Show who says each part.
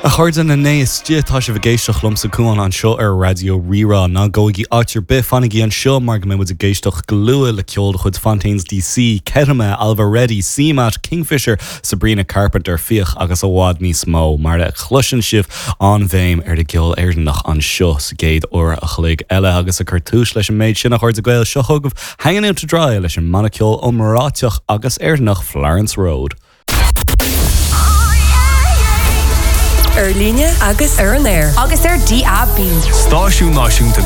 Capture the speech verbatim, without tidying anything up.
Speaker 1: A chairde na n-éiste tá sibh ag éisteacht liomsa Cuán anseo ar Raidió Rí-Rá ná gabhaigí áit ar bith fanaigí anseo mar go mbeidh ag éisteacht go luath le ceol de chuid Fontaines DC, Ketama, Ailbhe Reddy, CMAT, Kingfisher, Sabrina Carpenter, Fiach agus i bhfad níos mó mar a chloiseann sibh an bhéim ar an gceol Éireannach anseo sa gcéad uair a chloig eile agus ag cur tús leis an méid sin a chairde Gael seo chugaibh Hanging Out to Dry leis an mbanna ceoil iomráiteach agus Éireannach Florence Road.
Speaker 2: Ar líne agus ar an aer.
Speaker 3: Agus ar DAB.
Speaker 4: Stáisiún náisiúnta